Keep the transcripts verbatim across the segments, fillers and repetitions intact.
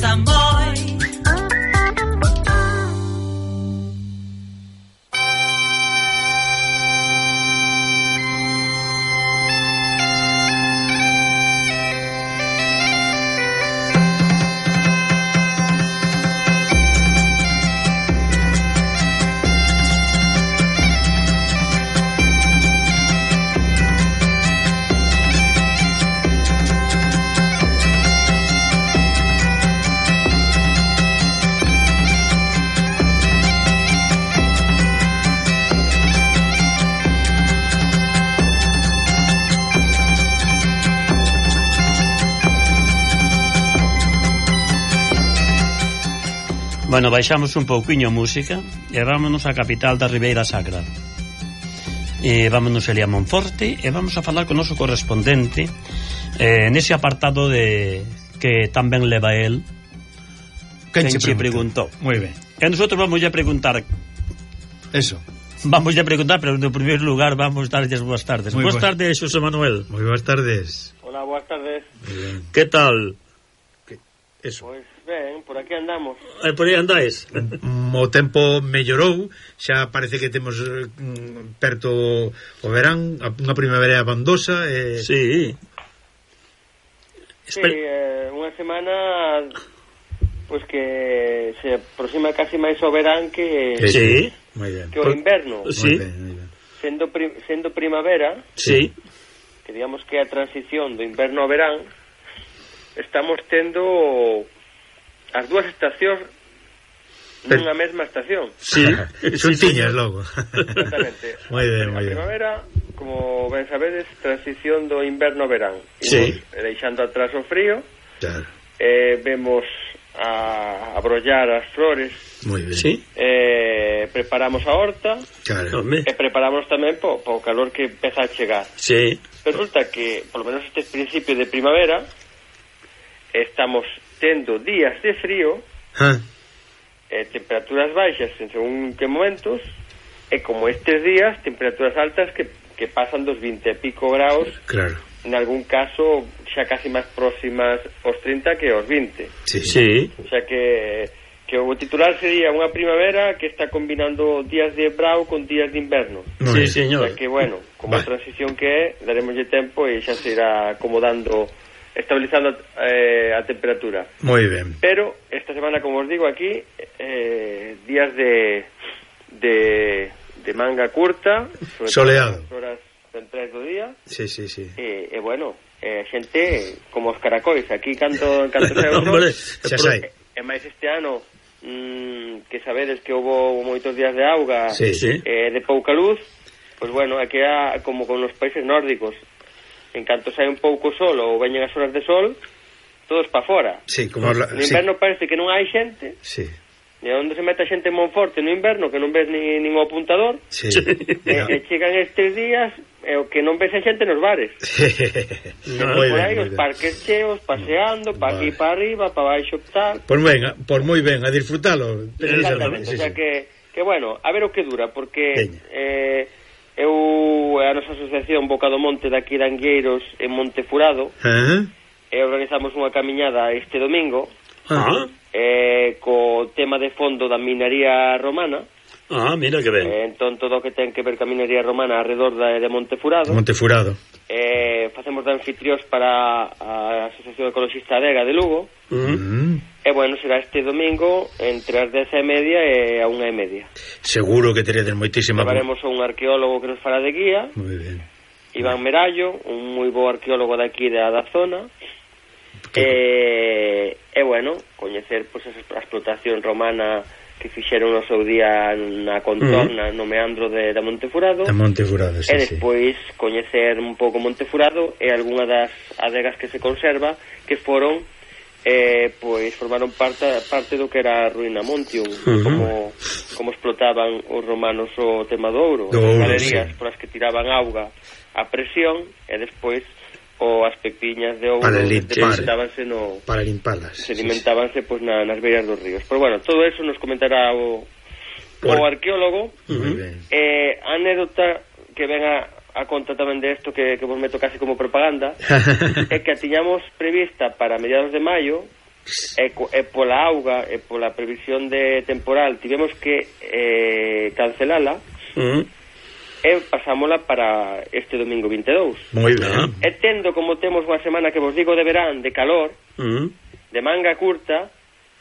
pasa moi. Bueno, baixamos un pouquiño a música e vámonos á capital da Ribeira Sacra. E vámonos ali a Monforte e vamos a falar con o noso correspondente eh, nese apartado de que tamén leva el quen che preguntou. Moi ben. E nosotros vamos a preguntar eso. Vamos a preguntar, pero en primeiro lugar vamos darlles boas tardes. Boas tardes, Xosé Manuel. Moi boas tardes. Hola, boas tardes. Que tal? Que... Eso. Pois ben, por aquí andamos. Eh, por aí andáis? O tempo mellorou, xa parece que temos mm, perto o verán, unha primavera abandosa. Eh... Sí. Sí, eh, unha semana pois que se aproxima casi máis ao verán que, sí. Moi ben. que o inverno. Sí. Moi ben, moi ben. Sendo, pri, sendo primavera, sí. Que digamos que a transición do inverno ao verán, estamos tendo as dúas estacións nunha mesma estación. Sí, son tiñas logo. Exactamente. Moi ben, moi ben. A primavera, como ben sabedes, transición do inverno ao verán. Sí. Imos deixando atrás o frío. Claro. Eh, vemos a, a brollar as flores. Moi ben. Sí. Eh, preparamos a horta. Claro. E preparamos tamén po, po calor que empeza a chegar. Sí. Resulta que, por lo menos este principio de primavera, estamos tendo días de frío, ah. eh, temperaturas baixas en según que momentos, e como estes días, temperaturas altas que, que pasan dos vinte e pico graus, claro. En algún caso xa casi máis próximas aos trinta que aos vinte. Sí. Sí. O sea que, que o titular sería unha primavera que está combinando días de brao con días de inverno. Sí, señor. O sea que, bueno, como a transición que é, daremoslle tempo e xa se irá acomodando, estabilizando eh, a temperatura. Moi ben. Pero esta semana, como os digo aquí, eh, días de, de de manga curta, soleado, as horas centrais do día. Sí, sí, sí. E, e bueno, eh, xente como os caracois, aquí canto canto sai o sol. Xa sai. E máis este ano mmm, que sabedes que houve moitos días de auga, sí, sí. Eh, de pouca luz, pois pues bueno, aquí é como con os países nórdicos. En canto sai un pouco sol ou veñen as horas de sol, todos pa fora. Sí, como la, no inverno sí. Parece que non hai xente. Sí. E onde se mete a xente en Monforte no inverno, que non ves ni, nin o apuntador. Sí. E, e chegan estes días e o que non ves a xente nos bares. No, por ben, aí os parques cheos, paseando, pa aquí, pa arriba, pa baixo, tal. Por ben, por moi ben, a disfrutalo. Exactamente, sí, o sea sí. que, que bueno, a ver o que dura, porque Peña. eh, eu, a nosa asociación Boca do Monte daqui de Angueiros en Montefurado, uh-huh. e organizamos unha camiñada este domingo, uh-huh. eh, co tema de fondo da minería romana. Ah, mira que ben. Eh, entón todo o que ten que ver ca minería romana alrededor de, de Montefurado. Montefurado. Eh, facemos de anfitriós para a Asociación Ecologista Adega de Lugo. Uh-huh. Uh-huh. E bueno, será este domingo entre as dez e media e a unha e media. Seguro que teredes moitísima. Levaremos a un arqueólogo que nos fará de guía. Moi ben. Iván Merallo, un moi bo arqueólogo daqui da, da zona. E, e bueno, coñecer pois, pues, a explotación romana que fixeron no seu día na contorna, uh-huh. no meandro de, da Montefurado. Da Montefurado, sí, e despois sí. coñecer un pouco Montefurado e algunha das adegas que se conserva que foron eh, pois formaron parte, parte do que era a ruína Montium, uh-huh. como, como explotaban os romanos o tema do ouro, do as ouro, galerías sí. por as que tiraban auga a presión e despois o as pepiñas de ouro sedimentábanse no para limpalas sedimentábanse sí, sí. Pois na, nas beiras dos ríos. Pero bueno, todo eso nos comentará o, por... o arqueólogo. Uh-huh. eh, anécdota que venga a conta tamén de isto que, que vos meto casi como propaganda é que a tiñamos prevista para mediados de maio e, e pola auga e pola previsión de temporal tivemos que eh, cancelala. Uh-huh. E pasámola para este domingo vinte e dous. Moi ben. E tendo como temos unha semana que vos digo de verán, de calor, uh-huh. de manga curta,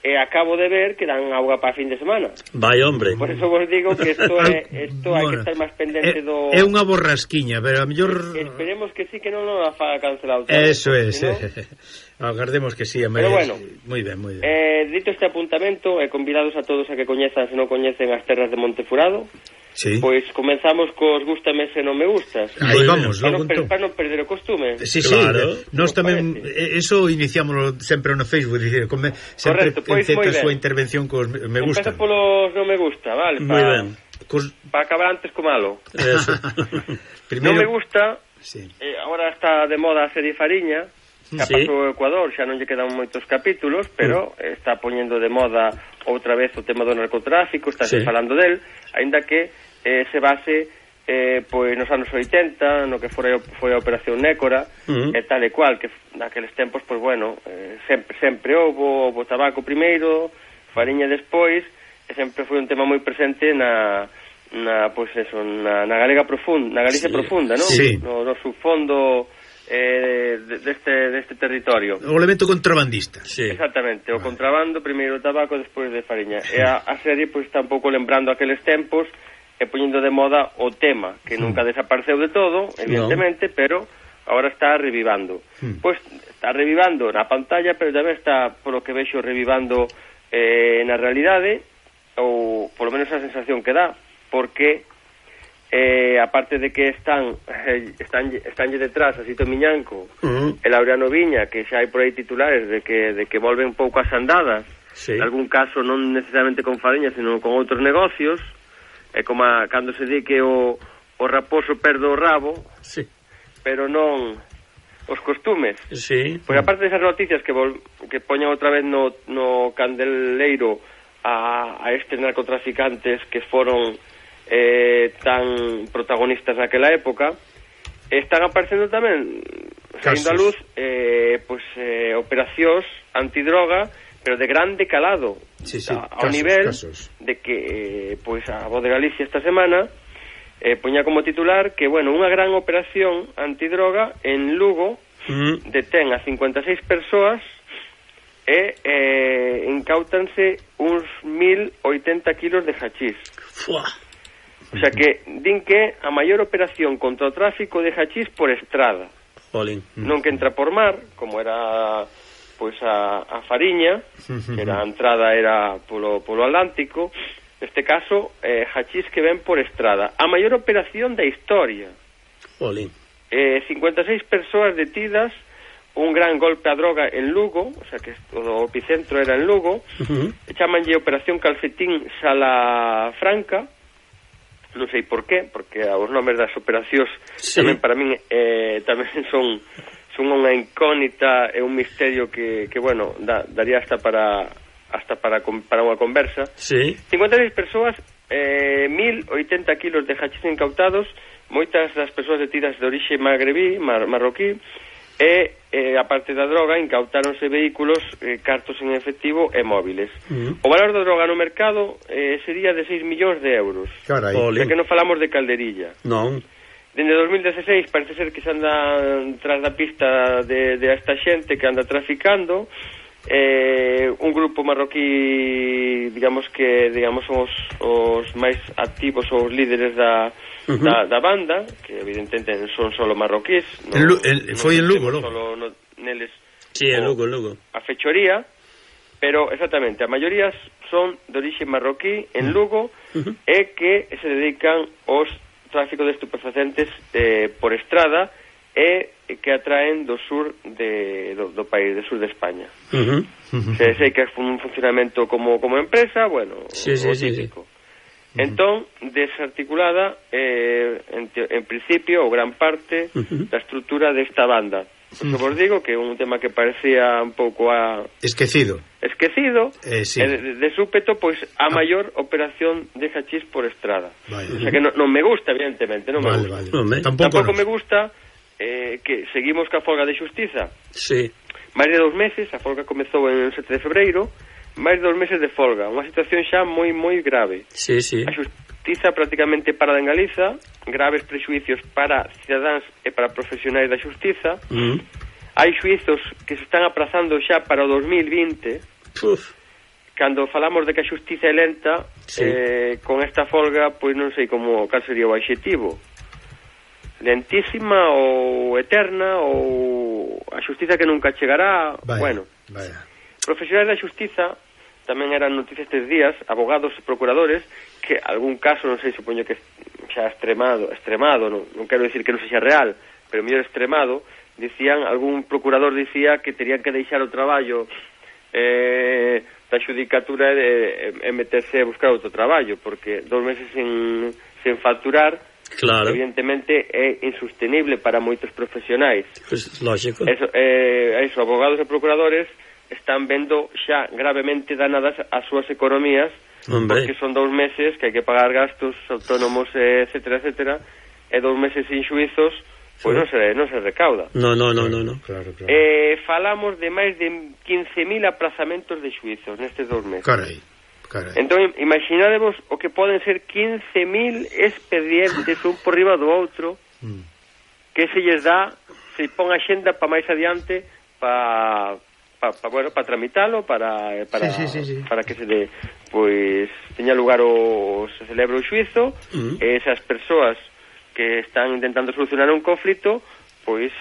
e acabo de ver que dan auga para fin de semana. Vai, hombre. Por eso vos digo que isto é isto hai que estar máis pendente do... É unha borrasquiña, pero a mellor... Esperemos que sí, que non nos a faga cancelado todo. Eso é, si no... agardemos que sí. Pero bueno, moi ben, moi ben. Eh, dito este apuntamento, e convidados a todos a que coñezan, se non coñecen as terras de Montefurado, sí. Pois comenzamos cos gústame se non me gustas. Aí vamos, logo entón. Para non perder o costume. Sí, claro. Sí, nós tamén eso iniciámoslo sempre no Facebook, dicir, come, sempre enceta a súa intervención cos me gusta. Empeza polos non me gusta, vale? Moi ben. Cos... Para acabar antes co malo. Eso. Primero... Non me gusta, sí. eh, agora está de moda a serie Fariña, que sí. Pasou o Ecuador, xa non lle quedan moitos capítulos, pero mm. está poñendo de moda outra vez o tema do narcotráfico, está sí. falando del, aínda que eh, se base eh, pois nos anos oitenta, no que foi, foi a Operación Nécora, mm. e tal e cual, que naqueles tempos, pois bueno, eh, sempre, sempre houve o tabaco primeiro, Fariña despois, e sempre foi un tema moi presente na, na pois eso, na, na Galega profunda, na Galicia sí. profunda, non? Sí. No, no subfondo eh, deste, deste territorio. O elemento contrabandista. Sí. Exactamente, o contrabando, primeiro o tabaco, despois de Fariña. Sí. E a, a serie pois está un pouco lembrando aqueles tempos e poñendo de moda o tema, que mm. nunca desapareceu de todo, evidentemente, no. pero agora está revivando. Mm. Pois está revivando na pantalla, pero tamén está, polo que vexo, revivando eh, na realidade, ou polo menos a sensación que dá, porque eh, aparte de que están eh, están estánlle detrás a Sito Miñanco uh-huh. e Laureano Viña, que xa hai por aí titulares de que de que volven un pouco as andadas, sí. en algún caso non necesariamente con Fariña, sino con outros negocios, é como a, cando se di que o, o raposo perde o rabo, sí. pero non os costumes. Sí. Pois aparte desas noticias que vol, que poñan outra vez no, no candeleiro a, a estes narcotraficantes que foron eh, tan protagonistas naquela época, están aparecendo tamén saindo a luz eh, pues, eh, operacións antidroga, pero de grande calado, sí, sí, a, ao casos, nivel casos. de que eh, pues, a Voz de Galicia esta semana eh, poña como titular que, bueno, unha gran operación antidroga en Lugo mm. detén a cincuenta e seis persoas e eh, incautanse uns mil oitenta kilos de hachís. Fua. O sea que din que a maior operación contra o tráfico de hachís por estrada. Jolín. Non que entra por mar, como era pois a, a Fariña, que era a entrada era polo, polo Atlántico. Neste caso, eh, hachís que ven por estrada. A maior operación da historia. Jolín. Eh, cincuenta e seis persoas detidas, un gran golpe a droga en Lugo, o sea que o epicentro era en Lugo, uh-huh. chamanlle Operación Calcetín Salafranca, non sei por qué, porque os nomes das operacións sí. tamén para min eh, tamén son son unha incógnita e un misterio que, que bueno, da, daría hasta para hasta para para unha conversa. Sí. cincuenta e seis persoas, eh, mil oitenta kilos de hachís incautados, moitas das persoas detidas de orixe magrebí, mar, marroquí, e, eh, a parte da droga, incautáronse vehículos, eh, cartos en efectivo e móviles. Uh-huh. O valor da droga no mercado eh, sería de seis millóns de euros. Carai. É que non falamos de calderilla. Non. Dende dos mil dieciséis parece ser que se anda tras da pista de, de esta xente que anda traficando. Eh, un grupo marroquí, digamos que digamos son os, os máis activos ou os líderes da Uh-huh. Da, da banda, que evidentemente son solo marroquíes, no, en Lu, en, foi en Lugo, Lugo. Solo no, neles, sí, en Lugo, en Lugo. A fechoría, pero exactamente, a maioría son de orixe marroquí en Lugo uh-huh. e que se dedican aos tráfico de estupefacientes eh, por estrada e que atraen do sur de, do, do país, do sur de España. Uh-huh. Uh-huh. Se, sei que é un funcionamento como, como empresa, bueno, sí, sí, o sí, típico. Sí. Entón, desarticulada eh, en, te, en principio, ou gran parte uh-huh. da estrutura desta banda. Por uh-huh. vos digo que é un tema que parecía un pouco a... Esquecido. Esquecido, eh, sí. e de, de súpeto, pois, a ah. maior operación de hachís por estrada. Vale. O sea que non, non me gusta, evidentemente, non vale, me gusta. Vale. No, Tampouco, Tampouco me gusta eh, que seguimos ca folga de xustiza. Sí. Máis de dous meses, a folga comezou en sete de febreiro, máis de dous meses de folga, unha situación xa moi moi grave. Sí, sí. A xustiza prácticamente parada en Galiza, graves prexuicios para cidadáns e para profesionais da xustiza. Mm. Hai xuizos que se están aprazando xa para o dos mil vinte. Uf. Cando falamos de que a xustiza é lenta, sí. eh, con esta folga, pois non sei como cal sería o adxetivo. Lentísima ou eterna, ou a xustiza que nunca chegará. Vaya, bueno, vaya. Profesionais da xustiza tamén eran noticias estes días, abogados e procuradores, que algún caso, non sei, supoño que xa extremado, extremado, non, non quero dicir que non sexa real, pero mellor extremado, dicían, algún procurador dicía que terían que deixar o traballo eh, da xudicatura e, e meterse a buscar outro traballo, porque dos meses sen, sen facturar, claro, evidentemente é insostenible para moitos profesionais. Pues, lógico. Eso, eh, eso, abogados e procuradores están vendo xa gravemente danadas as súas economías. Hombre. Porque son dous meses que hai que pagar gastos autónomos, etcétera, etcétera, e dous meses sin xuizos, pois non se, non se recauda. No, no, no, no, no. Claro, claro. Eh, falamos de máis de quince mil aprazamentos de xuizos nestes dous meses. Carai, carai. Entón, imaginadevos o que poden ser quince mil expedientes un por riba do outro, mm. que se lles dá, se pon a xenda para máis adiante, para pa, pa, bueno, para tramitalo, para para, sí, sí, sí, sí. para que se de, pois teña lugar o se celebre o xuizo, mm. e esas persoas que están intentando solucionar un conflito, pois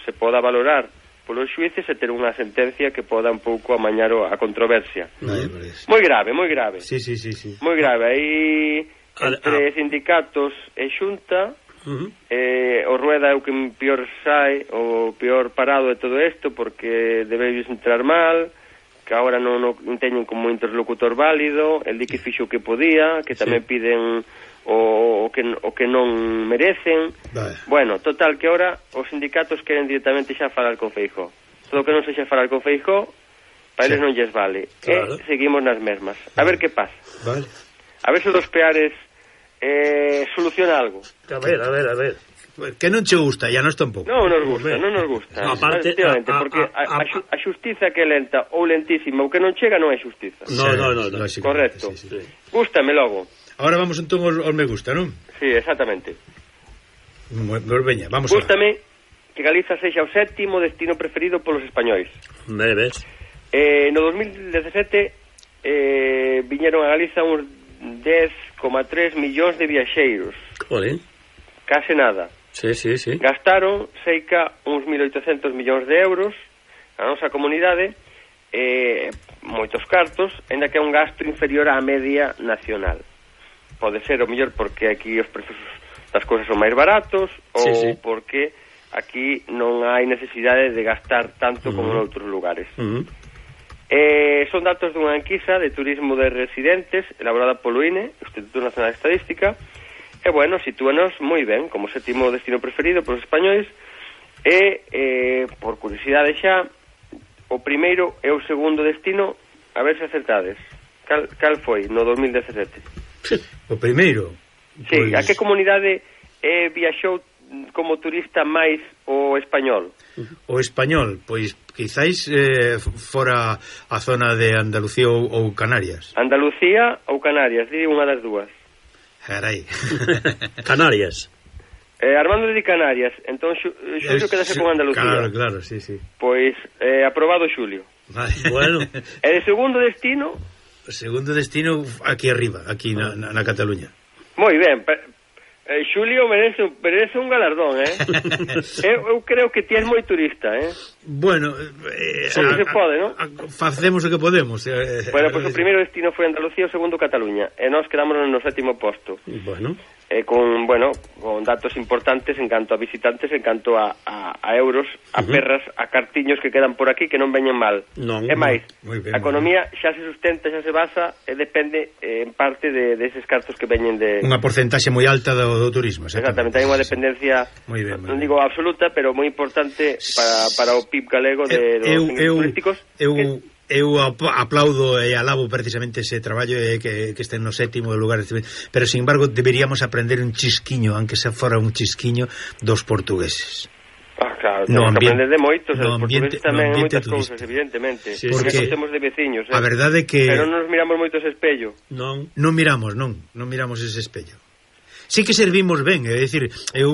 se poda valorar polos xuíces e ter unha sentencia que poda un pouco amañar a controversia. Mm. Moi grave, moi grave. Sí, sí, sí, sí. Moi grave. Aí entre ah. sindicatos e xunta, uh-huh. eh, o Rueda é o que pior sai, o pior parado de todo isto, porque debéis entrar mal, que agora non, non teñen como interlocutor válido, el di que fixo o que podía, que tamén sí. piden o, o, que, o que non merecen. Vale. Bueno, total, que ahora os sindicatos queren directamente xa falar con Feijóo. Todo o que non sexa falar con Feijóo, para eles sí. non lles vale. Claro. E seguimos nas mesmas. A ver que pasa. Vale. A ver se dos Peares eh, soluciona algo. A ver, a ver, a ver. Que non che gusta, ya nos tampouco. Non nos gusta, non nos gusta. No, aparte, a, a, porque a, a, a, a xustiza que é lenta ou lentísima ou que non chega non é xustiza. No, sí, no, no, no. Correcto. Sí, sí. Gústame logo. Ahora vamos entón aos, aos me gusta, non? Sí, exactamente. Pues veña, vamos a Gústame que Galiza sexa o sétimo destino preferido polos españois. Me ves. Eh, no dos mil dezasete eh, viñeron a Galiza uns dez coma tres millóns de viaxeiros. Joder. Case nada. Sí, sí, sí. Gastaron seica uns mil oitocentos millóns de euros a nosa comunidade, eh, moitos cartos, ainda que é un gasto inferior á media nacional. Pode ser o mellor porque aquí os precios das cousas son máis baratos, ou sí, sí. porque aquí non hai necesidade de gastar tanto uh-huh. como en outros lugares. Uh-huh. Eh, son datos dunha enquisa de turismo de residentes elaborada polo I N E, Instituto Nacional de Estadística, e, bueno, sitúanos moi ben como sétimo destino preferido polos españois, e, eh, por curiosidade xa, o primeiro e o segundo destino, a ver se acertades. Cal, cal foi no dos mil dezasete? O primeiro? Sí, pues... a que comunidade eh, viaxou como turista máis o español? O español, pois quizáis eh, fora a zona de Andalucía ou, ou Canarias. Andalucía ou Canarias, di unha das dúas. Carai. Canarias. Eh, Armando de Canarias, entón Xulio quedase con Andalucía. Claro, claro, sí, sí. Pois eh, aprobado Xulio. Vale. Bueno. E de segundo destino? O segundo destino aquí arriba, aquí na, na, na Cataluña. Moi ben, eh, Xulio merece, merece un galardón, eh? eu, eu creo que ti és moi turista, eh? Bueno, eh, sí, a, se pode, non? Facemos o que podemos. Eh, bueno, pois pues o primeiro destino foi Andalucía, o segundo Cataluña, e nós quedamos no sétimo posto. Bueno. Eh, con, bueno, con datos importantes en canto a visitantes, en canto a, a, a euros, a uh-huh. perras, a cartiños que quedan por aquí que non veñen mal. Non, é máis, ben, a economía xa se sustenta, xa se basa e depende eh, en parte de, de eses cartos que veñen de... Unha porcentaxe moi alta do, do turismo. Exactamente, hai unha dependencia, moi ben, moi non digo absoluta, pero moi importante para, para o P I B galego de, dos eu, eu, turísticos. Eu... Que, Eu aplaudo e alabo precisamente ese traballo e que, que estén no sétimo lugar, pero sin embargo deberíamos aprender un chisquiño, aunque se fora un chisquiño, dos portugueses. Ah, claro, no temos que ambiente, aprender de moitos, no os portugueses ambiente, tamén no moitas turístico. cousas, evidentemente. Sí, Porque porque temos de veciños, eh? a verdade é que Pero non nos miramos moito ese espello. Non. non miramos, non, non miramos ese espello. Sí que servimos ben, é dicir, eu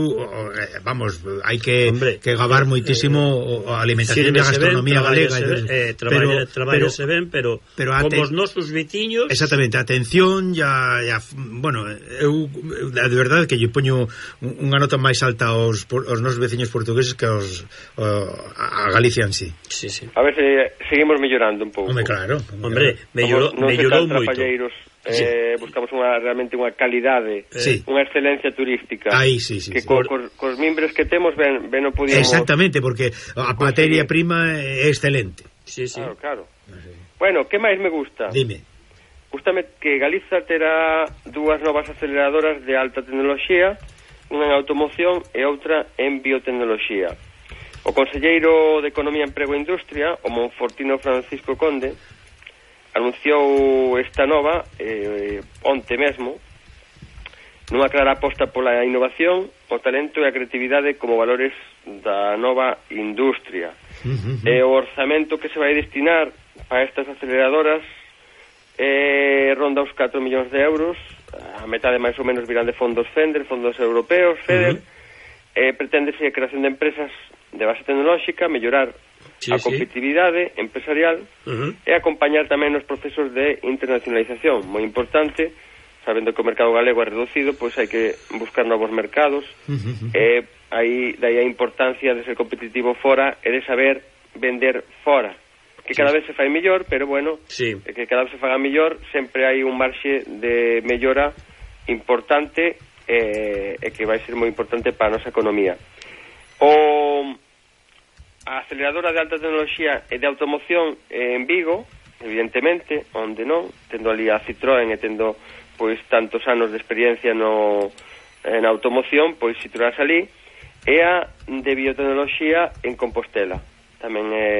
vamos, hai que Hombre, que gabar moitísimo a alimentación e a gastronomía galega, eh, traballa, traballase ben, pero, pero como ate, os nosos veciños. exactamente, atención, ya, ya bueno, eu de verdade que lle poño unha nota máis alta aos aos nosos veciños portugueses que aos a Galicia en sí. Sí, sí. A ver se seguimos mellorando un pouco. Hombre, claro. Hombre, mellorou, mellorou moito. Eh, sí. Buscamos unha, realmente unha calidade, sí. unha excelencia turística. Aí, sí, sí, que sí. co, co, cos mimbres que temos ben, ben o podíamos... Exactamente, porque a materia prima é excelente. Sí, sí. Claro, claro. Sí. Bueno, que máis me gusta? Dime. Gústame que Galiza terá dúas novas aceleradoras de alta tecnoloxía, unha en automoción e outra en biotecnoloxía. O conselleiro de Economía, Emprego e Industria, o monfortino Francisco Conde, anunciou esta nova eh, onte mesmo nunha clara aposta pola innovación, o talento e a creatividade como valores da nova industria. Uh-huh. E o orzamento que se vai destinar para estas aceleradoras eh, ronda os catro millóns de euros, a metade máis ou menos virán de fondos FENDER, fondos europeos, FEDER. Uh-huh. eh, Preténdese a creación de empresas de base tecnolóxica, mellorar sí, a competitividade sí. empresarial uh-huh. e acompañar tamén os procesos de internacionalización, moi importante, sabendo que o mercado galego é reducido, pois hai que buscar novos mercados, uh-huh. e aí dai a importancia de ser competitivo fora e de saber vender fora, que cada sí. vez se fai mellor, pero bueno, sí. que cada vez se faga mellor, sempre hai un marxe de mellora importante e, e que vai ser moi importante para a nosa economía. O a aceleradora de alta tecnoloxía e de automoción en Vigo, evidentemente, onde non, tendo ali a Citroën e tendo pois tantos anos de experiencia no en automoción, pois situarse ali, e a de biotecnoloxía en Compostela. Tamén é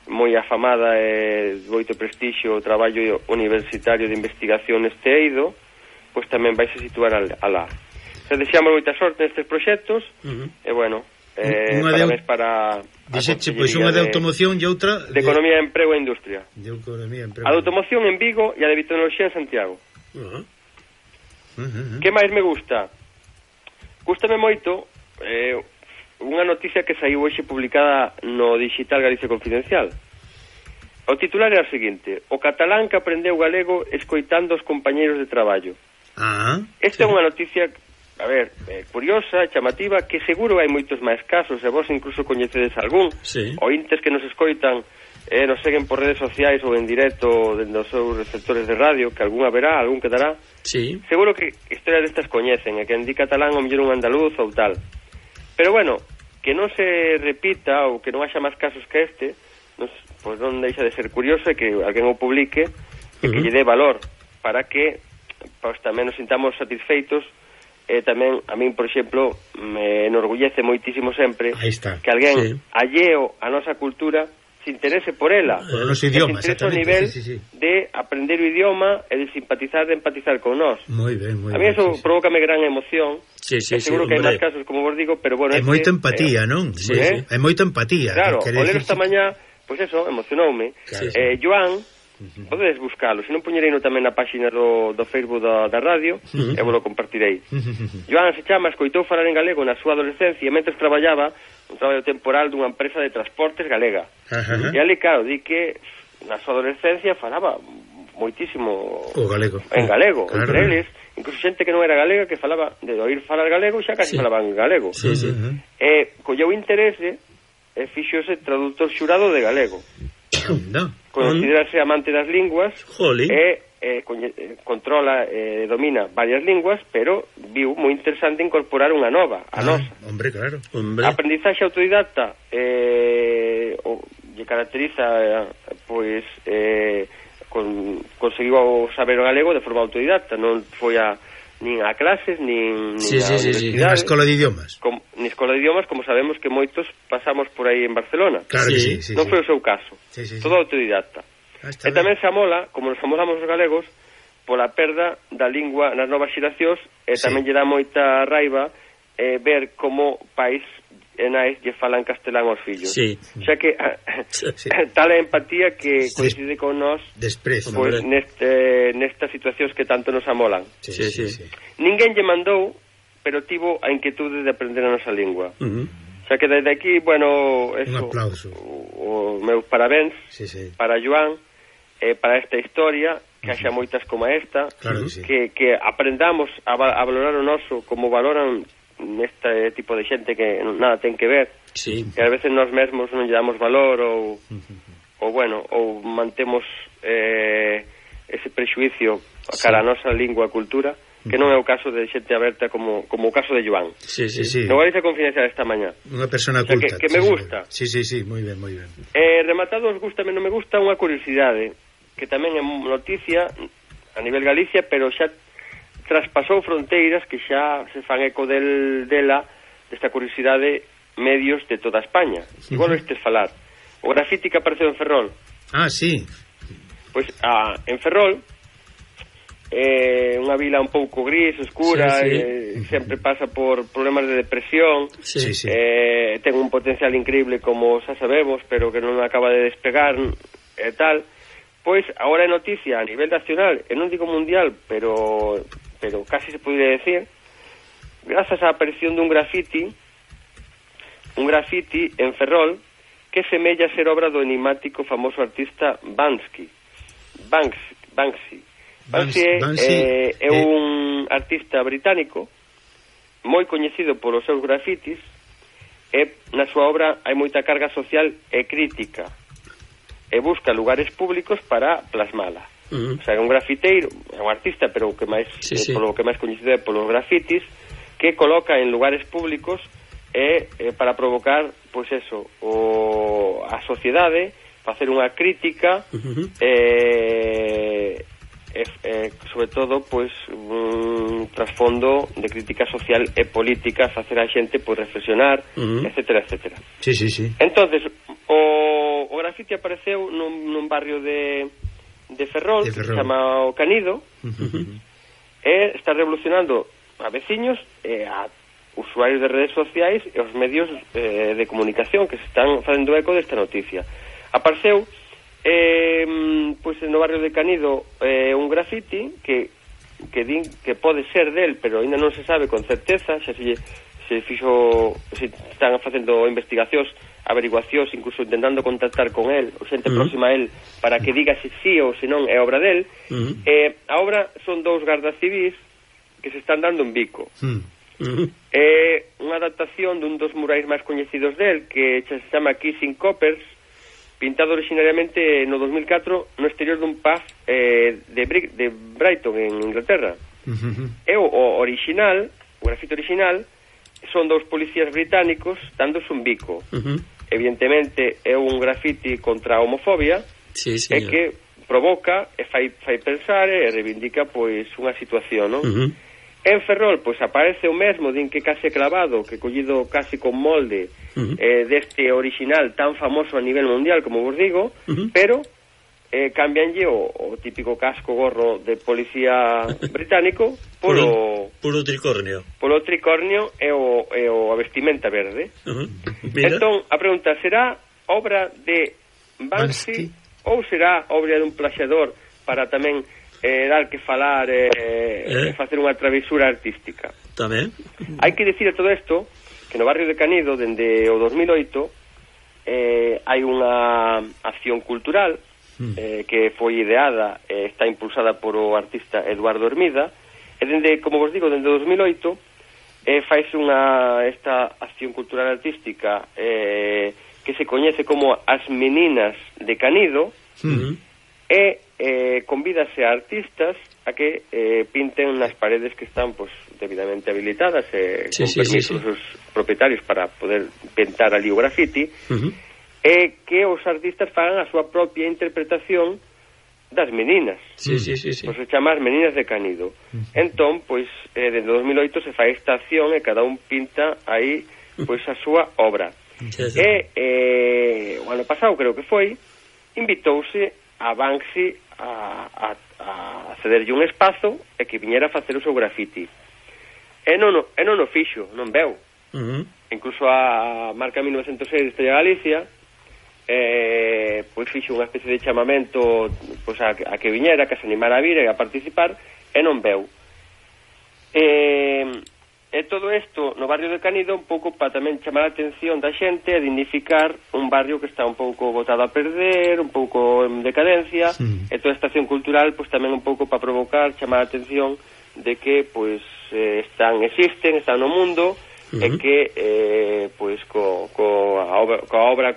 moi afamada e de moito prestixio o traballo universitario de investigación este eido, pois tamén vai se situar alá. Se deseamos moita sorte nestes proxectos, uh-huh. e bueno, Eh, unha para de, mes para diseche, pois unha de automoción e outra de, de Economía, Emprego e Industria. De Economía, Emprego. A de automoción en Vigo e a de biotecnoloxía en Santiago. Uh-huh. Uh-huh. Que máis me gusta? Gústame moito eh, unha noticia que saiu hoxe publicada no digital Galicia Confidencial. O titular era o seguinte: o catalán que aprendeu galego escoitando os compañeiros de traballo. Ah, Esta sí. é unha noticia, a ver, eh, curiosa, chamativa, que seguro hai moitos máis casos, e vos incluso coñecedes algún, sí. ointes que nos escoitan, eh, nos seguen por redes sociais ou en directo dentro dos seus receptores de radio, que algún haberá, algún quedará. Sí. Seguro que historias destas coñecen, e que en di catalán o mellor un andaluz ou tal. Pero bueno, que non se repita ou que non haxa máis casos que este, nos, pois non deixa de ser curioso e que alguén o publique e uh-huh. que lle dé valor para que pois tamén nos sintamos satisfeitos. E tamén, a min, por exemplo, me enorgullece moitísimo sempre que alguén sí. alleo a nosa cultura se interese por ela, por o noso idioma, se interese ao nivel sí, sí, sí. de aprender o idioma e de simpatizar, de empatizar con nós. Moi ben, moi ben. A mí eso sí, sí. provócame gran emoción. Sí, sí, seguro sí, que hai máis casos, como vos digo, pero bueno... É este, moita empatía, eh, non? Sí, eh? sí. É moita empatía. Claro, o ler esta mañá, pois pues eso, emocionoume. Claro. Eh, Joan... Uh-huh. Podedes buscalo, se non poñerei no tamén na páxina do, do Facebook da, da radio uh-huh. e vos lo compartirei. Uh-huh. Joan se chama, escoitou falar en galego na súa adolescencia mentre traballaba un traballo temporal dunha empresa de transportes galega. Uh-huh. E ali, claro, di que na súa adolescencia falaba moitísimo o galego. En galego, claro. Entre eles, incluso xente que non era galega que falaba, de oír falar galego xa casi sí. falaban galego. Sí, sí. Uh-huh. E colleu interese e fixose traductor xurado de galego. No. Considerarse amante das linguas Jolín. e eh, coñe, eh, controla e eh, domina varias linguas, pero viu moi interesante incorporar unha nova, a ah, nosa. Hombre, claro. Hombre. Aprendizaxe autodidacta eh, o, lle caracteriza eh, pois eh, con, conseguiu saber o galego de forma autodidacta, non foi a nin a clases, nin, nin sí, a sí, universidade. Sí, nin a escola de idiomas. Com, nin escola de idiomas, como sabemos que moitos pasamos por aí en Barcelona. Claro sí. que sí, sí. Non sí. foi o seu caso. Sí, sí, Todo sí. autodidacta. Ah, e tamén se amola, como nos amolamos os galegos, pola perda da lingua nas novas xeracións, e sí. tamén lle dá moita raiva eh, ver como pais e nais lle falan castelán aos fillos. Sí. Xa que sí. tal é a empatía que coincide con nós Després, pues, neste, nestas situacións que tanto nos amolan. Sí, sí, sí. sí. Ninguén lle mandou, pero tivo a inquietude de aprender a nosa lingua. Uh -huh. Xa que desde aquí, bueno, eso, un aplauso. O, o meus parabéns sí, sí. para Joan, eh, para esta historia, que haxa moitas como esta, claro que, sí. que, que aprendamos a, a valorar o noso como valoran neste tipo de xente que nada ten que ver, sí. que a veces nós mesmos non lle damos valor ou, ou bueno, ou mantemos eh, ese prexuicio cara a nosa lingua e cultura, que non é o caso de xente aberta como, como o caso de Joan. Sí, sí, sí. No Galicia Confidencial esta mañá. Unha persona o sea, culta. Que, que me gusta. Sí, sí, sí, moi ben, moi ben. Eh, rematado os gusta, non me gusta unha curiosidade, que tamén é noticia a nivel Galicia, pero xa traspasou fronteiras, que xa se fan eco del, dela, desta curiosidade, medios de toda España. Uh-huh. Igual estes falar. O grafiti que apareceu en Ferrol. Ah, sí. Pois ah, en Ferrol, eh, unha vila un pouco gris, oscura, sí, sí. Eh, sempre pasa por problemas de depresión, sí, sí. Eh, ten un potencial increíble, como xa sabemos, pero que non acaba de despegar e eh, tal. Pois agora é noticia a nivel nacional, e non digo mundial, pero pero casi se podría decir, grazas á aparición dun grafiti, un grafiti en Ferrol que semella ser obra do enigmático famoso artista Banksy. Banksy, Banksy. Banksy, Banksy é, é un artista británico moi coñecido polos seus grafitis, e na súa obra hai moita carga social e crítica, e busca lugares públicos para plasmala. Uh -huh. O sea, é un grafiteiro, é un artista, pero o que máis sí, sí. polo que máis coñecido é polos grafitis, que coloca en lugares públicos e eh, para provocar, pois eso, o a sociedade, facer unha crítica, uh -huh. eh E, eh, sobre todo, pois un trasfondo de crítica social e política, facer a xente pois reflexionar, uh -huh. etcétera, etcétera. Sí, sí, sí. Entonces, o, o grafiti apareceu nun, nun barrio de, de Ferrol, de Ferrol, que se chama O Canido, uh -huh. e está revolucionando a veciños e a usuarios de redes sociais e os medios eh, de comunicación que se están facendo eco desta noticia. Apareceu Eh, pois no barrio de Canido eh, un grafiti que que din que pode ser del, pero ainda non se sabe con certeza, xa se, se fixo, se están facendo investigacións, averiguacións, incluso intentando contactar con el, o xente uh -huh. próxima a el, para que diga se sí ou se non é obra del. Uh -huh. eh, a obra son dous gardas civis que se están dando un bico. Uh -huh. É eh, unha adaptación dun dos murais máis coñecidos del, que se chama Kissing Coppers, pintado originariamente no dos mil catro no exterior dun pub eh, de, Bri de Brighton, en Inglaterra. Uh-huh. E o, o original, o grafito original, son dous policías británicos dándose un bico. Uh-huh. Evidentemente é un grafiti contra a homofobia, sí, e que provoca e fai, fai pensar e reivindica pois unha situación, non? Uh-huh. En Ferrol, pois aparece o mesmo, din que case clavado, que collido case con molde uh-huh. eh, deste original tan famoso a nivel mundial, como vos digo, uh-huh. pero eh, cambianlle o, o típico casco gorro de policía británico polo, puro tricornio. Polo tricornio e o, e o a vestimenta verde. Uh-huh. Entón, a pregunta, será obra de Banksy, Banksy ou será obra de un plaxador para tamén Eh, dar que falar e eh, eh. facer unha travesura artística. Tamén. Hai que dicir a todo isto que no barrio de Canido, dende o dos mil oito, eh, hai unha acción cultural mm. eh, que foi ideada e eh, está impulsada por o artista Eduardo Hermida, e dende, como vos digo, dende o dos mil oito eh, faise unha esta acción cultural artística eh, que se coñece como As Meninas de Canido, mm. e eh, convídase a artistas a que eh, pinten nas paredes que están pues, debidamente habilitadas e eh, sí, con sí, permisos sí, sí. propietarios para poder pintar ali o grafiti, uh -huh. e que os artistas fagan a súa propia interpretación das meninas. Sí, sí, sí, sí. Pois se chama As Meninas de Canido. Uh -huh. Entón, pois, eh, desde dos mil oito se fai esta acción e cada un pinta aí pois a súa obra. Sí, sí. E eh, o ano pasado, creo que foi, invitouse a Banksy a, a, a cederlle un espazo e que viñera a facer o seu grafiti. E non, e non o fixo, non veu. Uh-huh. Incluso a marca mil novecientos seis de Estrella Galicia eh, pois fixo unha especie de chamamento pois a, a que viñera, que se animara a vir e a participar, e non veu. E, e todo isto no barrio de Canido un pouco para tamén chamar a atención da xente e dignificar un barrio que está un pouco botado a perder, un pouco en decadencia, sí. E toda esta acción cultural pois tamén un pouco para provocar, chamar a atención de que pois eh, están, existen, están no mundo, uh-huh. E que eh, pois co, co a obra, coa obra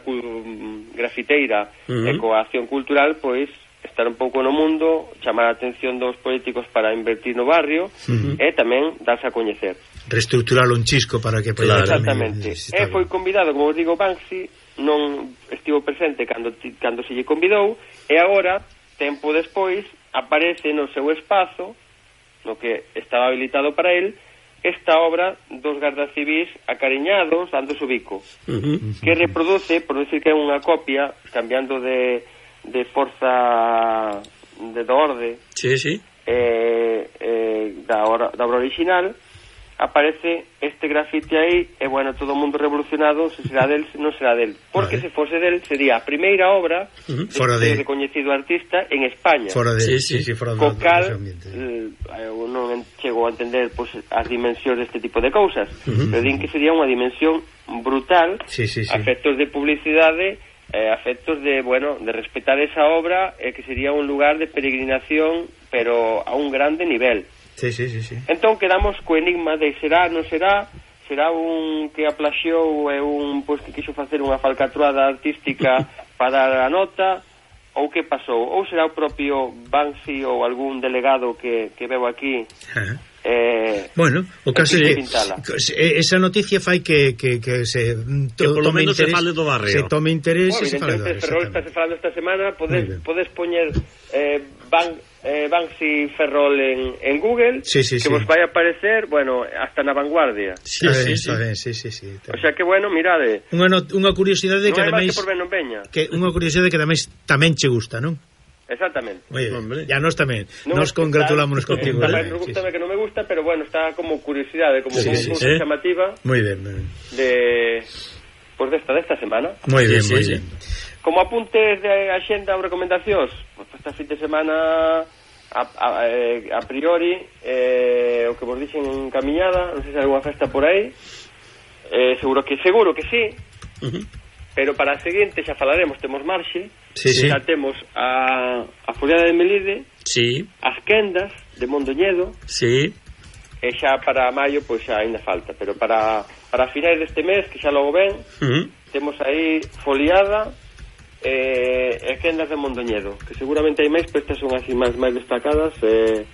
grafiteira uh-huh. E coa acción cultural pois estar un pouco no mundo, chamar a atención dos políticos para invertir no barrio, uh-huh. E tamén darse a coñecer. Reestructurar un chisco para que claro. Exactamente. E foi convidado, como vos digo, Banksy non estivo presente cando, cando se lle convidou, e agora, tempo despois, aparece no seu espazo, no que estaba habilitado para él, esta obra dos gardas civís acariñados, dando su bico, uh-huh. Que reproduce, por decir que é unha copia, cambiando de de forza de do orde, sí, sí. Eh, eh, da, obra, da obra original, aparece este grafite aí, e bueno, todo o mundo revolucionado, se será del, se non será del, porque vale. Se fose del, sería a primeira obra uh-huh. Fora de recoñecido artista en España. Fora de, sí, sí, sí, fora co cal eh, eu non chego a entender pues, as dimensións deste tipo de cousas, uh-huh. Pero din que sería unha dimensión brutal, sí, sí, sí. A efectos de publicidade, eh, a efectos de, bueno, de respetar esa obra, eh, que sería un lugar de peregrinación, pero a un grande nivel. Sí, sí, sí, sí. Entón quedamos co enigma de será, non será, será un que aplaxiou e un pois que quixo facer unha falcatruada artística para dar a nota, ou que pasou, ou será o propio Banksy ou algún delegado que, que veo aquí. Uh-huh. Eh, bueno, o caso é que esa noticia fai que, que, que se to, que polo menos interés, se fale do barrio, se tome interés, bueno, e se fale do barrio. Ferrol está se falando esta semana, podes, podes poñer eh, Ban, eh, Banksy Ferrol en, en Google, sí, sí, que sí. Vos vai aparecer, bueno, hasta na vanguardia. Sí, sí, sí, sí, sí, sí, sí. O sea que bueno, mirade. Unha not, unha curiosidade no que ademais por ben non veña. Que unha curiosidade que ademais tamén che gusta, non? Exactamente. Oye, hombre, ya nos tamén. No, nos congratulámonos está, contigo. Está, eh, me gusta, sí, que non me gusta, pero bueno, está como curiosidade, como sí, como sí, sí, chamativa. Muy bien, muy bien. De pues desta desta semana. Muy bien, sí, muy sí, bien. Sí. Como apuntes de axenda ou recomendacións, pues esta fin de semana a, a, a priori eh, o que vos dixen en camiñada, non sei se hai algunha festa por aí. Eh, seguro que seguro que sí. Uh-huh. Pero para a seguinte xa falaremos, temos marxe, sí, sí. Xa temos a, a Foliada de Melide, sí. As Quendas de Mondoñedo, sí. E xa para maio pois xa ainda falta, pero para, para finais deste mes, que xa logo ven, uh-huh. Temos aí Foliada e, e Quendas de Mondoñedo, que seguramente hai máis, pero estas son así máis, máis destacadas eh,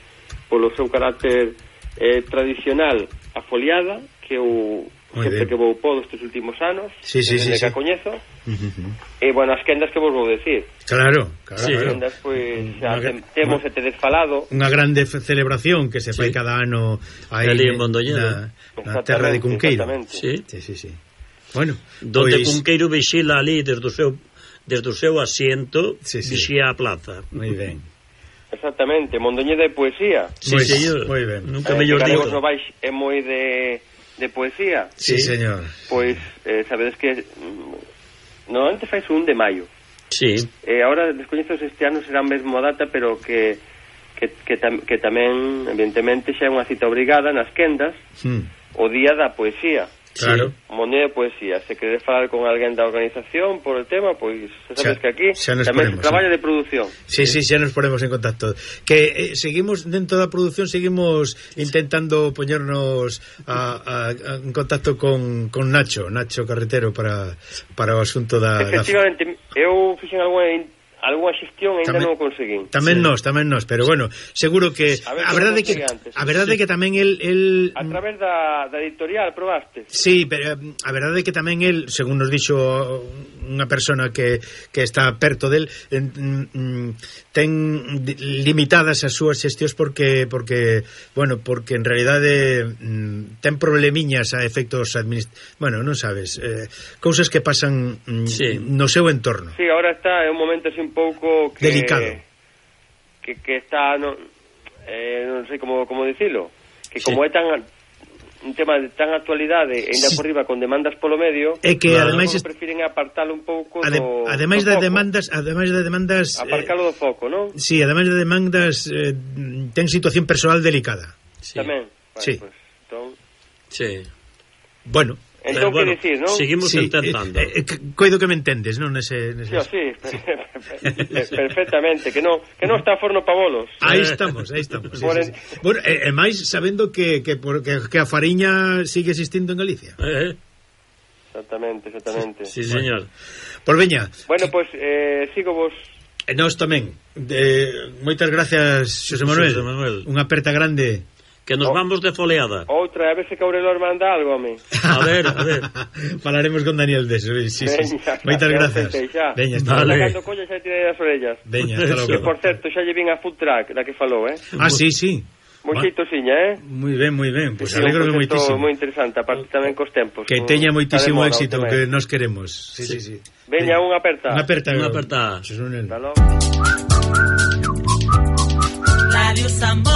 polo seu carácter eh, tradicional a Foliada, que o Muy sempre bien. Que vou podo estes últimos anos, sí, sí, desde sí, que sí. a coñezo, uh-huh. E bueno, as quendas que vos vou decir. Claro, claro, sí, claro. As quendas, pois, xa te, temos e te desfalado. Unha grande celebración que se fai sí. cada ano aí en Mondoñedo, na, na terra de Cunqueiro. Sí. Sí, sí, sí. Bueno, donde pois... Cunqueiro vixila ali desde o seu desde o seu asiento, sí, sí. vixía a plaza. Moi ben. Exactamente, Mondoñedo é poesía. Sí, moi, señor. Moi ben. Nunca eh, mellor digo. No vais é moi de de poesía. Sí, sí, señor. Pois eh, sabedes que mm, normalmente fais un de maio. Sí. Eh, ahora descoñezo se este ano será mesmo a data, pero que que, que, tam, que tamén evidentemente xa é unha cita obrigada nas quendas, mm. o día da poesía. Claro. Moneda de poesía. Se queres falar con alguén da organización por el tema, pois sabes xa, que aquí tamén se traballa, sí, de produción. Sí, sí, xa nos ponemos en contacto. Que eh, seguimos dentro da produción, seguimos intentando poñernos a, a, a, en contacto con, con Nacho, Nacho Carretero para, para o asunto da... Efectivamente, da... eu fixen algunha algunha xestión ainda non o conseguín. Tamén sí. nós, tamén nós, pero bueno, seguro que a, ver, a verdade que antes, a verdade sí. que tamén el, el a través da, da editorial probaste. Sí, pero a verdade que tamén el, según nos dixo unha persona que, que está perto del, en, ten limitadas as súas xestións porque porque, bueno, porque en realidade ten problemiñas a efectos administrativos, bueno, non sabes, eh, cousas que pasan sí. no seu entorno. Sí, ahora está en un momento así un pouco que, delicado, que, que está no, eh, non sei como, como dicilo, que como sí. é tan un tema de tan actualidade e ainda sí. por riba con demandas polo medio, é que claro, ademais est... prefiren apartalo un pouco Ade, do ademais do de foco. demandas, ademais de demandas aparcalo do foco, non? Si, sí, ademais de demandas eh, ten situación persoal delicada. Sí. Tamén. Vale, Sí. pues, entón... Sí. Bueno, Entón, bueno, que dicir, non? seguimos sí, intentando. Eh, eh, coido que me entendes, non? Nese, nese... Sí, sí, perfectamente, que non que non está forno pa bolos. Aí estamos, aí estamos. Sí, Por sí, sí. Bueno, e, e máis sabendo que, que, por, que, que a fariña sigue existindo en Galicia. Eh, Exactamente, exactamente. sí, señor. Por veña. Bueno, pois pues, eh, sigo vos. E nós tamén. De, moitas gracias, Xosé Manuel. Xosé Manuel. Unha aperta grande. Que nos Oh. vamos de foleada. Outra, a ver se Caurelor manda algo a mí. A ver, a ver. Falaremos con Daniel deso. Sí, sí, sí. Veña, Moitas xa, gracias. xa, xa. Veña, hasta Vale. logo. Cando colla xa tirei as orellas. Veña, hasta Eso. Que, logo. por certo, xa lle vin a food track da que falou, eh? Ah, sí, sí. Moi Va. xeitosiña, eh? Moi ben, moi ben. Pois Sí, alegro un proxecto moitísimo. moi interesante, aparte tamén cos tempos. Que un- teña moitísimo está de moda éxito o tema, que eh. nos queremos. Sí, sí, sí. Veña, unha aperta. Unha aperta. Unha aperta. Xosé Manuel. Hasta logo. Radio Sambo.